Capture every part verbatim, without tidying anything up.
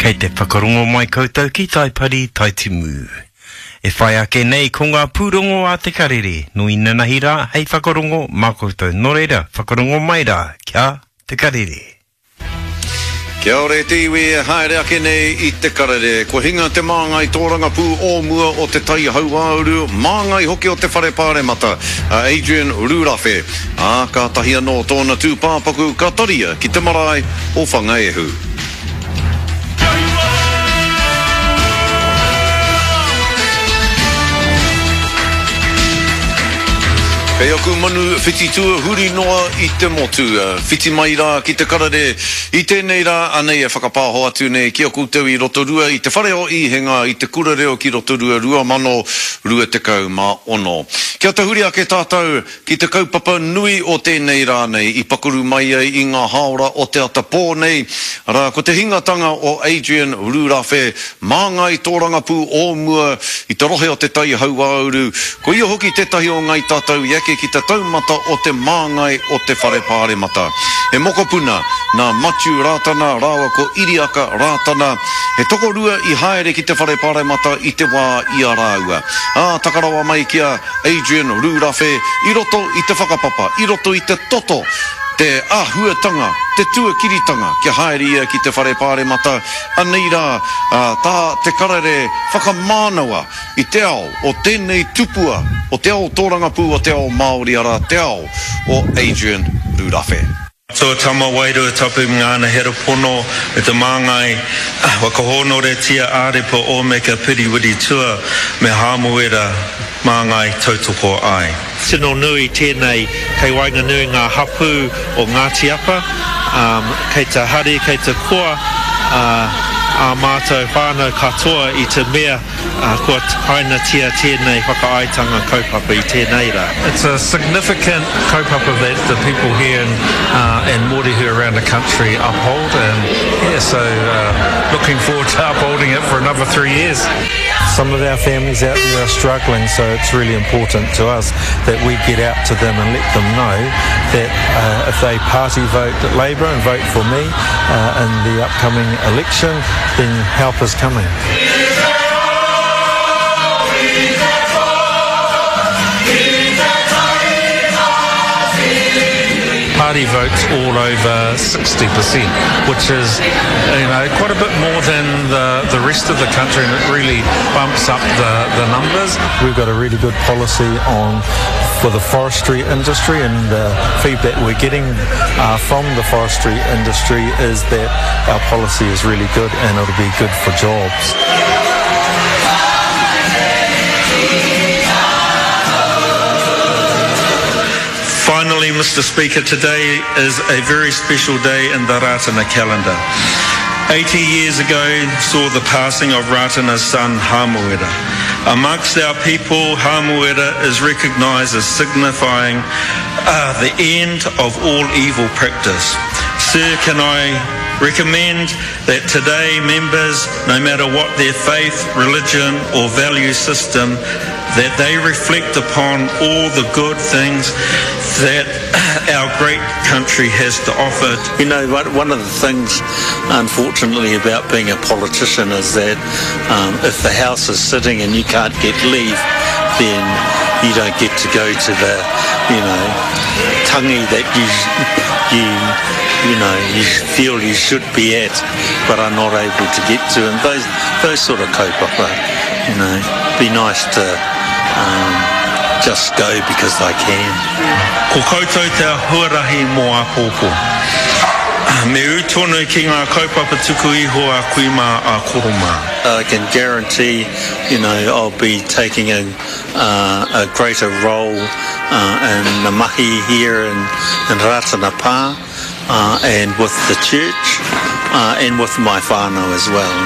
Kei te whakarongo mai koutou ki Taipari Taitimu. E whai ake nei ko ngā pūrongo a te karere, no inanahi rā hei whakarongo mā koutou. Nō reira, whakarongo mai rā, kia te karere. Kia ora e te iwi e haere ake nei i te karere. Kua hinga te māngai tōrangapū o mua o te Tai Hauāuru, māngai hoki o te Whare Pāremata, a Adrian Rurawhe. Ā, kātahi anō tōna tūpāpaku ka taria ki te marae o Whangaehu. Kei aku manu whititua huri noa i te motu, whiti mai rā ki te karere i tēnei rā, anei e whakapāho atu nei ki a koutou i Rotorua i te whare o Īhenga i te Kura Reo ki Rotorua rua mano rua tekau mā ono. Kia tahuri ake tātou ki te kaupapa nui o tēnei rā nei i pakuru mai ai i ngā hāora o te ata pō nei, arā ko te hingatanga o Adrian Rurawhe, māngai tōrangapū o mua i te rohe o te Tai Hauāuru, ko ia hoki tētahi o ngai tātou i eke ki te taumata o te māngai o te Whare Pāremata. He mokopuna nā Matiu Rātana rāua ko Iriaka Rātana, he tokorua i haere ki te Whare Pāremata i te wā i a rāua. Ā, taka rawa mai ki a Adrian Rurawhe i roto i te whakapapa, i roto i te toto, te āhuatanga, te tuakiritanga kia haere ia ki te Whare Pāremata, anei rā, ā, tā te karere whakamānawa i te ao o tēnei tupua, o te ao tōrangapū o te ao Māori, arā te ao o Adrian Rurawhe. Atua Tama Wairua Tapu Ngāna Hera Pono me te māngai whakahōnoretia Ārepa Ōmeka Piriwiri Tua me Hāmuera māngai tautoko ai. Tino nui tēnei kei waenganui ngā hapū o Ngāti Apa, um, kei te hari, kei te koa uh, ā mātou whānau katoa i te mea uh, kua hainatia tēnei whakaaetanga kaupapa i tēnei rā. It's a significant kaupapa that the people here in, uh, and Mōrehu around the country uphold, and yeah, so uh, looking forward to upholding it for another three years. Some of our families out there are struggling, so it's really important to us that we get out to them and let them know that uh, if they party vote Labour and vote for me uh, in the upcoming election, then help is coming. Party votes all over sixty percent, which is, you know, quite a bit more than the, the rest of the country, and it really bumps up the, the numbers. We've got a really good policy on for the forestry industry, and the feedback we're getting, uh, from the forestry industry is that our policy is really good and it'll be good for jobs. Finally, Mister Speaker, today is a very special day in the Rātana calendar. eighty years ago saw the passing of Rātana's son, Hamuera. Amongst our people, Hamuera is recognised as signifying, uh, the end of all evil practice. Sir, can I recommend that today members, no matter what their faith, religion or value system, that they reflect upon all the good things that our great country has to offer. You know, one of the things, unfortunately, about being a politician is that, um, if the House is sitting and you can't get leave, then you don't get to go to the, you know, tangi that you, you, you know, you feel you should be at, but are not able to get to. And those, those sort of kaupapa, you know, be nice to um, just go because I can. Ko koutou te huarahi mō āpōpō. Me ū tonu ki ngā kaupapa tuku iho a kui mā a koro mā. I can guarantee, you know, I'll be taking a, uh, a greater role, uh, in the mahi here in, in Rātana Pā, uh, and with the church, uh, and with my whānau as well.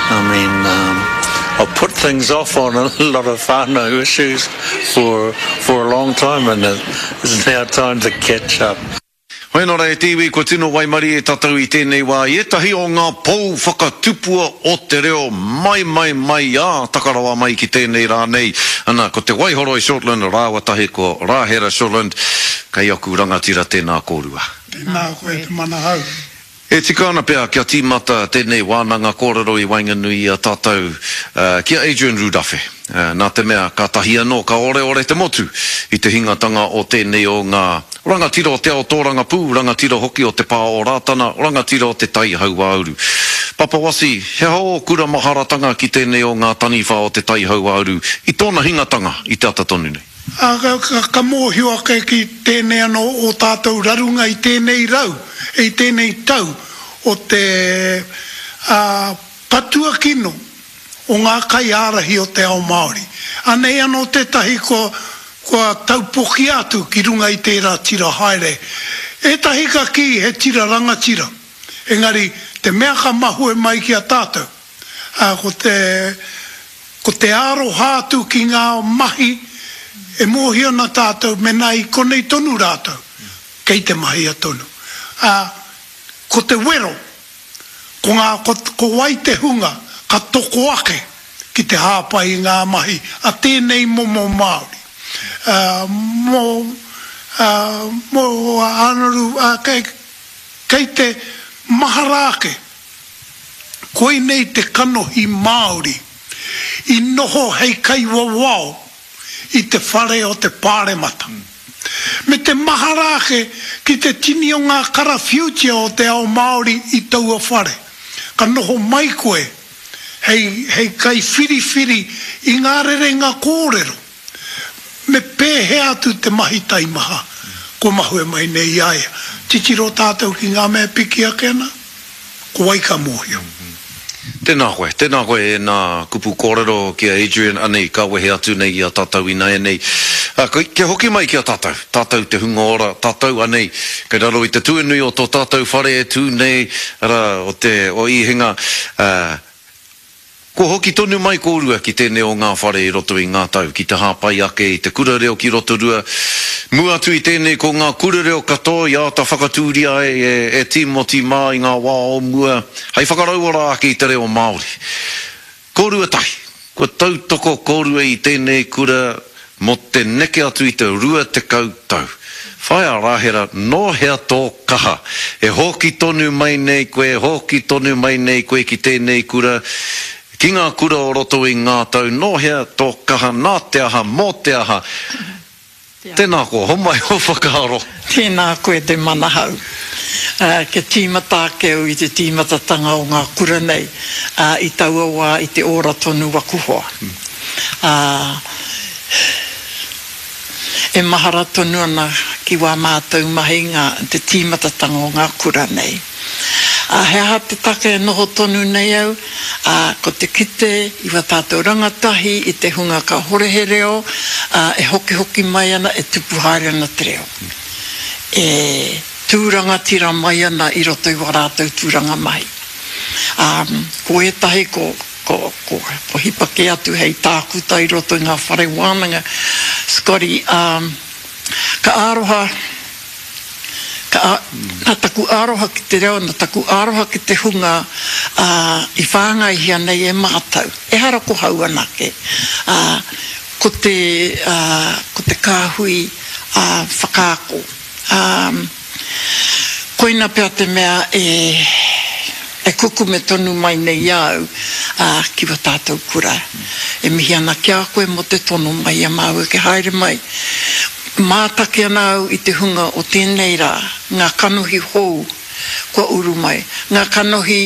I mean, um, I've put things off on a lot of whānau issues for, for a long time, and it's now time to catch up. Hoi nō rā e te iwi, kua tino waimari e tātou i tēnei wā i ētahi o ngā pou whakatupua o te reo mai mai mai ā takarawa mai ki tēnei rā nei. Ana, ko te Waihoroi Shortland rāua tahi ko Rāhera Shortland, kei aku rangatira tēnā kōrua. Tēnā koe te manahau. E tika ana pea kia tīmata tēnei wānanga kōrero i waenganui i a tātou ki a Adrian Rurawhe, nā te mea kātahi anō ka oreore te motu i te hingatanga o tēnei o ngā rangatira o te ao tōrangapū, rangatira hoki o te pā o Rātana, rangatira o te Tai Hauāuru. Papa Wasi, he aha ō kura maharatanga ki tēnei o ngā taniwha o te Tai Hauāuru i tōna hingatanga i te ata tonu nei? Ā, ka, ka mōhio ake ki tēnei anō ō tātou rarunga i tēnei rau, i tēnei tau o te, ā, patua kino o ngā kaiārahi o te ao Māori. Anei anō tētahi kua, kua taupokia atu ki runga i tērā tira haere. Ētahi ka kī he tira rangatira, engari te mea ka mahue mai ki a tātou, ā, ko te, ko te aroha atu ki ngā mahi e mōhio ana tātou mēnā i konei tonu rātou, kei te mahia tonu. Ā, ko te wero, ko ngā, ko, ko wai te hunga ka toko ake ki te hāpai i ngā mahi a tēnei momo Māori. Ā, mō, ā, mō Ānaru, ā, kei, kei te mahara ake, koinei te kanohi Māori i noho hei kaiwawao i te whare o te Pāremata. Me te mahara ake ki te tini o ngā karawhiutia o te ao Māori i taua whare. Ka noho mai koe hei, hei kaiwhiriwhiri i ngā rerenga kōrero. Me pēhea atu te mahi taimaha kua mahue mai nei i a ia. Titiro tātou ki ngā mea piki ake ana, ko wai ka mōhio. Tēnā koe, tēnā koe e nā kupu kōrero ki a Adrian, anei ka wehe atu nei i a tātou ināianei. Kia hoki mai ki a tātou, tātou te hunga ora, tātou anei kei raro i te tuanui o tō tātou whare e tū nei, arā, o te, o Īhenga, ā, kua hoki tonu mai kōrua ki tēnei o ngā whare i roto i ngā tau, ki te hāpai ake i te kura reo ki Rotorua. Mua atu i tēnei ko ngā kura reo katoa i āta whakatūria ai e, e Tīmoti mā i ngā wā o mua, hei whakarauora ake i te reo Māori. Kōrua tahi, kua tautoko kōrua i tēnei kura mō te neke atu i te rua tekau tau. Whaea Rahera, nō hea tō kaha? E hoki tonu mai nei koe, hoki tonu mai nei koe ki tēnei kura, ki ngā kura o roto i ngā tau, nō hea tō kaha, nā te aha, mō te aha? Tēnā koa, homai ō whakaaro. Tēnā koe te manahau. Kia tīmata ake au i te tīmatatanga o ngā kura nei, i taua wā i te ora tonu waku hoa. E mahara tonu ana ki wā mātou mahinga te tīmatatanga o ngā kura nei. Ā, he aha te take e noho tonu nei au? Ā, ko te kite i wā tātou rangatahi, i te hunga kāhore he reo, ā, e hokihoki mai ana, e tupu haere ana te reo. E tū rangatira mai ana i roto i wā rātou tūranga mahi. Ā, ko ētahi ko, ko, ko, ko hipa kē atu hei tākuta i roto i ngā whare wānanga, Scotty, ā, ka aroha, Ka, nā taku aroha ki te reo, nā taku aroha ki te hunga, ā, i whāngaihia nei e mātou, ehara ko hau anake, ā, ko te, ā, ko te kāhui, ā, whakaako. Ā, koina pea te mea e, e kukume tonu mai nei i a au, ā, ki wā tātou kura. E mihi ana ki a koe mō te tono mai i a māua kia haere mai. Mātaki ana au i te hunga o tēnei rā, ngā kanohi hou kua uru mai, ngā kanohi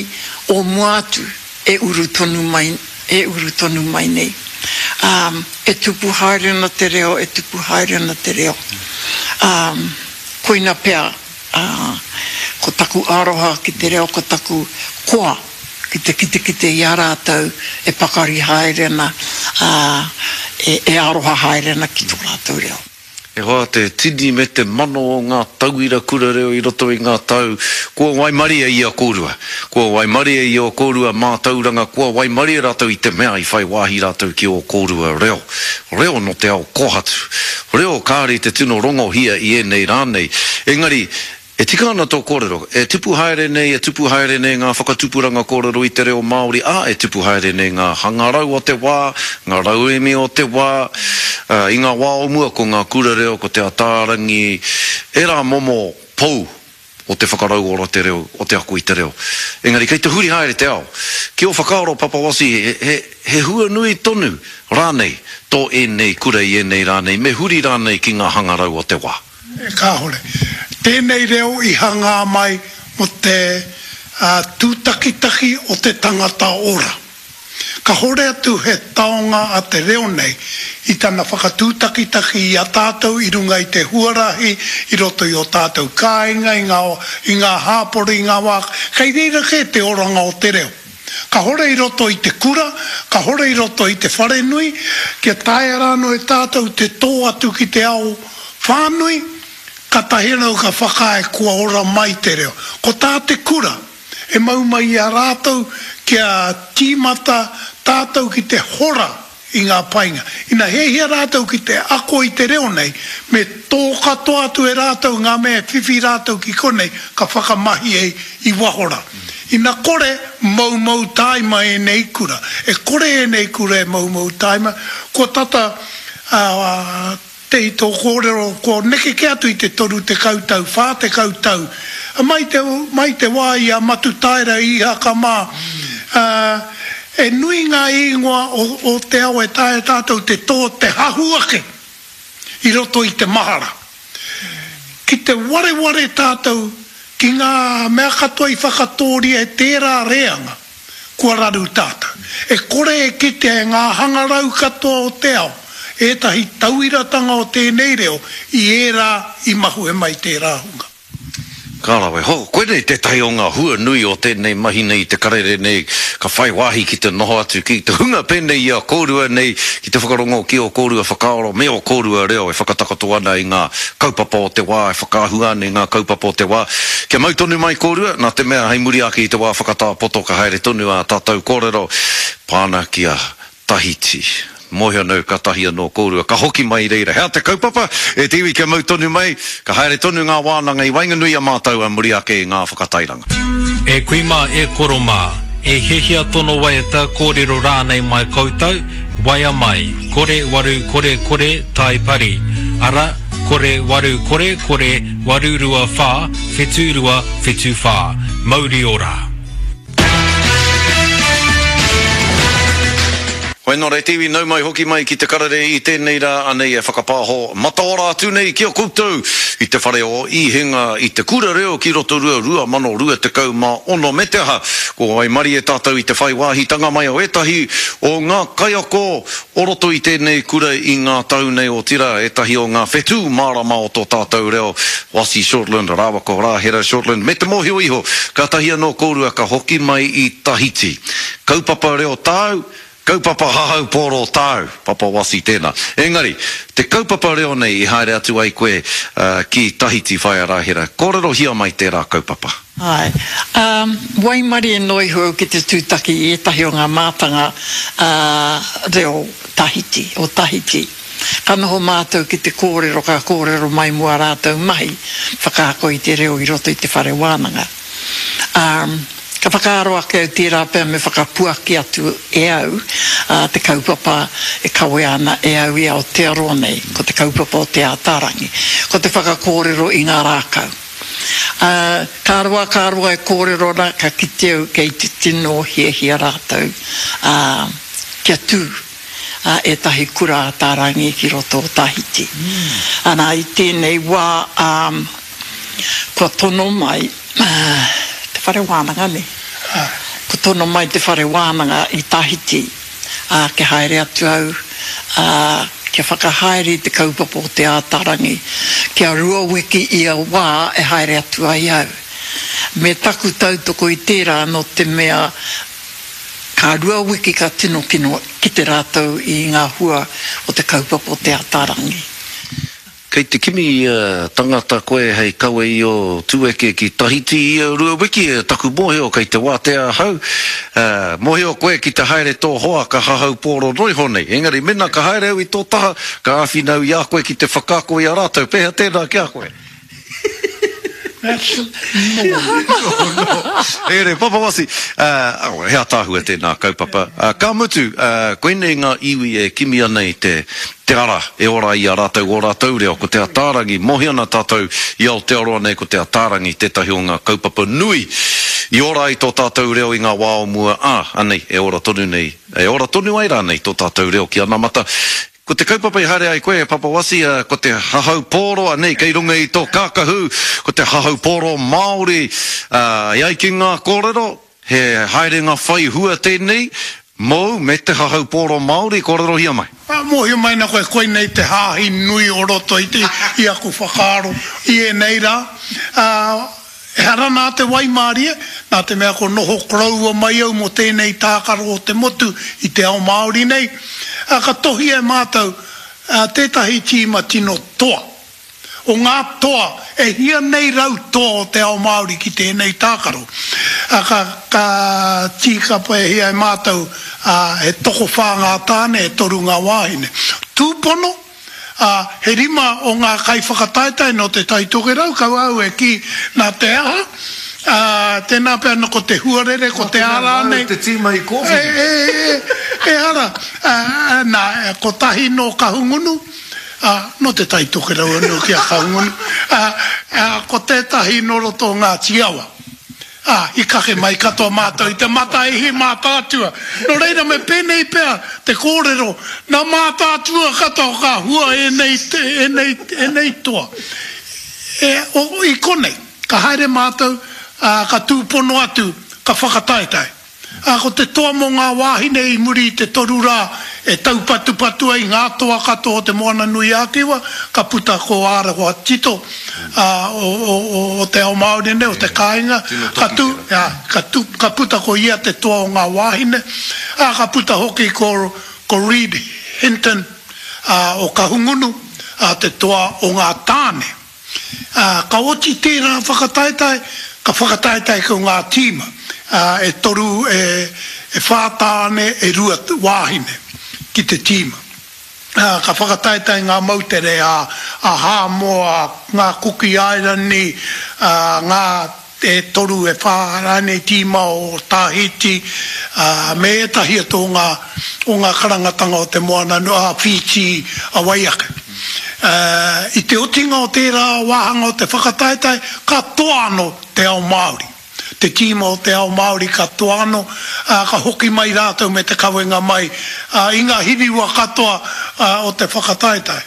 o mua atu e uru tonu mai, e uru tonu mai nei. Ā, e tupu haere ana te reo, e tupu haere ana te reo. Ā, koina pea, ā, ko taku aroha ki te reo, ko taku koa ki te kitekite i a rātou e pakari haere ana, ā, e, e aroha haere ana ki tō rātou reo. E hoa, te tini me te mano o ngā tauira kura reo i roto i ngā tau, kua waimarie i a kōrua. Kua waimarie i ō kōrua mātauranga, kua waimarie rātou i te mea i whai wāhi rātou ki ō kōrua reo. Reo nō te ao kōhatu. Reo kāre i te tino rongohia i ēnei rā nei. Engari, E tika ana tō kōrero, e tupu haere nei, e tupu haere nei ngā whakatupuranga kōrero i te reo Māori, ā, e tupu haere nei ngā hangarau o te wā, ngā rauemi o te wā. Ā, i ngā wā o mua ko ngā kura reo, ko Te Ataarangi, ērā momo pou o te whakarauora te reo, o te ako i te reo. Engari, kei te huri haere te ao. Ki ō whakaaro, Papa Wasi, he, he, he hua nui tonu rānei tō ēnei kura i ēnei rā nei, me huri rānei ki ngā hangarau o te wā? E kāore. Tēnei reo i hangā mai mō te uh, tūtakitaki o te tangata ora. Ka hore atu he taonga a te reo nei i tana whakatūtakitaki i a tātou i runga i te huarahi, i roto i o tātou kāinga, i ngā, i ngā hāpori, i ngā wā. Kei reira kē te oranga o te reo. Ka hore i roto i te kura, ka hore i roto i te wharenui, kia taea rānō e tātou te tō atu ki te ao whānui, katahi anō ka whakaae kua ora mai te reo. Ko tā te kura, e mau mai i a rātou kia tīmata tātou ki te hora i ngā painga. Ina hiahia rātou ki te ako i te reo nei, me tō katoa atu e rātou ngā mea e whiwhi rātou ki konei ka whakamahi ai i waho rā. Ina kore moumou tāima ēnei kura. E kore ēnei kura e moumou tāima, kua tata uh, te i tō kōrero, kua neke kē atu i te toru tekau tau, whā tekau tau. Mai te, mai te wā i a Matutaera i Ihaka mā, uh, e nui ngā ingoa o, o te ao e taea tātou te tō te hahu ake i roto i te mahara. Ki te wareware tātou ki ngā mea katoa i whakatōria e tērā reanga, kua raru tātou. E kore e kitea e ngā hangarau katoa o te ao, ētahi tauiratanga o tēnei reo i ērā i mahue mai tērā hunga. Ka rawe. Ho, koinei tētahi o ngā hua nui o tēnei mahi nei i te karere nei, ka whai wāhi ki te noho atu ki te hunga pēnei i a kōrua nei, ki te whakarongo ki ō kōrua whakaaro me ō kōrua reo e whakatakoto ana i ngā kaupapa o te wā, e whakaahua ana i ngā kaupapa o te wā. Kia mau tonu mai kōrua, nā te mea hei muri ake i te wā whakatā poto ka haere tonu ā tātou kōrero pāna ki a Tahiti. Mōhio anō ka tahi anō kōrua, ka hoki mai reira. Hea te kaupapa, e te iwi kia mau tonu mai, ka haere tonu ngā wānanga i waenganui a mātou a muri ake i ngā whakatairanga. E kui mā, e koro mā, e hiahia tono waiata kōrero rānei mai koutou, waea mai, kore waru kore kore tai pari, ara, kore waru kore kore waru rua whā, whetu rua whetu whā. Mauri ora. Hoi nō re te iwi, nau mai hoki mai ki te karere i tēnei rā anei e whakapāho mataora atu nei ki a koutou i te whare o Īhenga i te kura reo ki Rotorua rua mano rua tekau mā ono me te aha. Ko waimarie tātou i te whai wāhitanga mai o ētahi o ngā kaiako o roto i tēnei kura i ngā tau nei otirā ētahi o ngā whetū mārama o tō tātou reo Wasi Shortland, rāua ko Rāhera Shortland me te mōhio iho kātahi anō kōrua ka hoki mai i Tahiti. Kaupapa reo tāu, kaupapa hahau pōro tāu, Papa Wasi tēnā. Engari, te kaupapa reo nei i haere atu ai koe uh, ki Tahiti whaea Rāhera. Kōrerohia mai tērā kaupapa. Ai. Um, waimarie noa iho au ki te tūtaki i ētahi o ngā mātanga uh, reo Tahiti, o Tahiti. Ka noho mātou ki te kōrero, ka kōrero mai mō ā rātou mahi, whakaako i te reo i roto i te whare wānanga. Um, Ka whakaaro ake au tērā pea me whakapuaki atu e au uh, te kaupapa e kawea ana e au i Aotearoa nei, ko te kaupapa o Te Ātaarangi, ko te whakakōrero i ngā rākau. Uh, ka roa, ka roa e kōrero ana, ka kite au kei te tino hiahia rātou uh, kia tū uh, ētahi kura Ātaarangi ki roto o Tahiti. Mm. Ana, i tēnei wā um, kua tono mai uh, te whare wānanga nei. Ko tono mai te whare wānanga i Tahiti, ā, kia haere atu au, ā, kia whakahaere i te kaupapa o Te Ātaarangi, kia rua wiki ia wā e haere atu ai au. Me taku tautoko i tērā nō te mea ka rua wiki ka tino kino kite rātou i ngā hua o te kaupapa o Te Ātaarangi. Kei te kimi uh, tangata koe hei kawe i o tūeke ki Tahiti i a rua wiki, taku mōhio kei te wātea ahau. Uh, mōhio koe ki te haere tō hoa ka hahau pōro noiho nei. Engari mena ka haere au i tō taha, ka āwhina au i a koe ki te whakaako i a rātou. Pēhea tēnā ki a koe? That's no. No, no. Ere, Papa Wasi, uh, oh, he ataahua tēnā kaupapa. Uh, ka mutu, uh, koinei ngā iwi e kimi ana i te, te ara e ora i a rātou o rātou reo, ko Te Ataarangi, mohi ana tātou i Aotearoa nei ko Te Ataarangi tētahi o ngā kaupapa nui i ora ai tō tātou reo i ngā wā o mua, ā, anei, e ora tonu nei, e ora tonu ai rānei tō tātou reo ki anamata. Ko te kaupapa i haere ai koe, e Papa Wasi, ko te hahau pōro, anei, kei runga i tō kākahu, ko te hahau pōro Māori, e ai ki ngā kōrero, he haerenga whai hua tēnei, mōu me te hahau pōro Māori, kōrerohia mai. Mōhio mai na koe, koinei te hāhi nui o roto i te, i aku whakaaro i ēnei rā. Ehara nā te waimārie, nā te mea ko noho koroua mai au mō tēnei tākaro o te motu i te ao Māori nei, ā, ka tohia e mātou tētahi tīma tino toa. O ngā toa, e hia nei rau toa o te ao Māori ki tēnei tākaro. Ā, ka, ka tīkapehia e mātou, ā, he tokowhā ngā tāne, e toru ngā wāhine. Tūpono, Ā, he rima o ngā kaiwhakataetae nō Te Tai Tokerau, kaua au e kī nā te aha, ā, tēnā pea nō ko te huarere, ko te aha rānei. Nā te tīma i kōwhiri. E, e, e, ehara, ā, nā, kotahi nō Kahungunu, ā, nō Te Tai Tokerau anō ki a Kahungunu, ā, ā, ko tētahi nō roto o Ngāti Awa. Ā, i kake mai katoa mātou i te Mataihi Mātaatua. Nō reira me pēnei pea te kōrero, nā Mātaatua katoa ka hua ēnei, ēnei, ēnei toa. E, o, i konei, ka haere mātou, ā, ka tūpono atu, ka whakataetae. Ā, ko te toa mō ngā wāhine i muri i te toru rā e taupatupatu ai ngā toa katoa o Te Moana-nui-a-Kiwa, ka puta ko Ārawa Tito, ā, o, o, o, o te ao Māori nei, o te kāinga, ka tū, ā, ka tū, ka puta ko ia te toa o ngā wāhine, ā, ka puta hoki ko, ko Reed Hinton, ā, o Kahungunu, ā, te toa o ngā tāne. Ā, ka oti tērā whakataetae, ka whakataetae ko ngā tīma, ā, e toru, e, e whā tāne, e rua wāhine ki te tīma. Ā, ka whakataetae ngā moutere a, a Hāmoa, ngā Kuki Airani, ā, ngā e toru, e whā rānei tīma o Tahiti, ā, me ētahi atu o ngā, o ngā karangatanga o te moana, a Whītī, a wai ake. Ā, i te otinga o tērā wāhanga o te whakataetae, ka toa anō te ao Māori. Te tīma o te ao Māori ka toa anō, ā, ka hoki mai rātou me te kawenga mai, ā, i ngā hiriwa katoa, ā, o te whakataetae.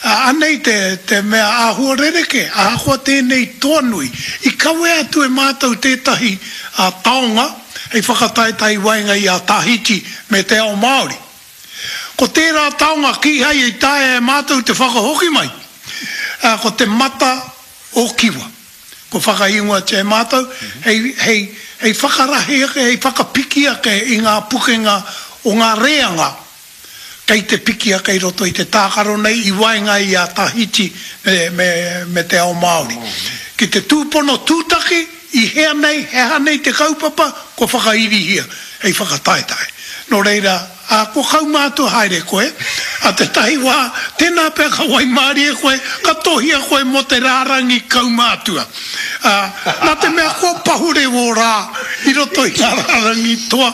Ā, anei te, te mea āhua rerekē, ahakoa tēnei toa nui, i kawea atu e mātou tētahi, ā, taonga hei whakataetae i waenga i a Tahiti me te ao Māori. Ko tērā taonga kīhai i taea e mātou te whakahoki mai, ā, ko te mata o Kiwa. Kua whakaingoatia e mātou hei, hei, hei whakarahi ake, hei whakapiki ake i ngā pukenga o ngā reanga Kei te piki ake i roto i te tākaro nei i waenga i a Tahiti me, me, me te ao Māori. Ki te tūpono tūtaki, i hea nei, he aha nei te kaupapa, kua whakairihia hei whakataetae. Nō reira, ā, kua kaumātua haere koe, ā tētahi wā, tēnā pea ka waimārie koe, ka tohia koe mō te rārangi kaumātua. Ā, nā te mea kua pahure wō rā i roto i ngā rārangi toa,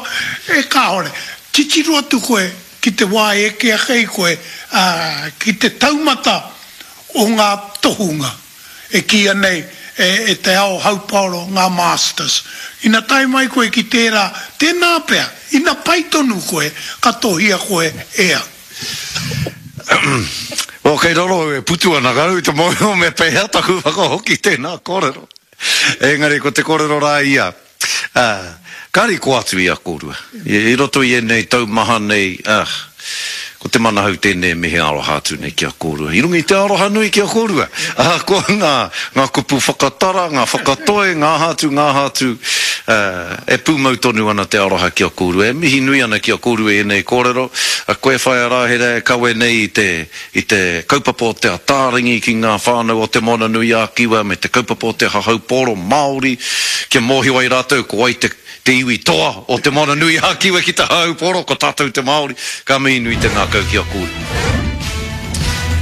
e kāore. Titiro atu koe ki te wā e eke ake ai koe, ā, ki te taumata o ngā tohunga e kīia nei e, e te ao haupaoro ngā masters. Ina tae mai koe ki tērā, tēnā pea, ina pai tonu koe, ka tohia koe e au. Well, kei raro au e putu ana, ka rau i te mōhio me pēhea taku whakahoki tēnā kōrero. Engari ko te kōrero rā ia, ā, ka riko atu i a kōrua. I roto i ēnei tau maha nei, ā, ko te manahau tēnei e mihi aroha atu nei ki a kōrua. I runga i te aroha nui ki a kōrua, ahakoa ngā, ngā kupu whakatara, ngā whakatoe, ngā aha atu, ngā aha atu, ā, e pūmau tonu ana te aroha ki a kōrua. E mihi nui ana ki a kōrua i ēnei kōrero, a koe Whaea Rāhera e kawe nei i te, i te kaupapa o Te Ataarangi ki ngā whānau o Te Moana-nui-ā-Kiwa me te kaupapa o te hahaupōro Māori kia mōhio ai rātou ko wai te te iwi toa o Te Moana-nui-ā-Kiwa ki te hahaupōro, ko tātou te Māori, ka mihi nui te ngākau ki a kōrua.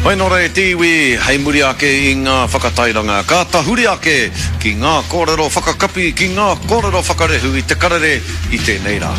Whai nō reira te iwi, hei muri ake i ngā whakatairanga, ka tahuri ake ki ngā kōrero whakakapi, ki ngā kōrero whakarehu i te karere i tēnei rā.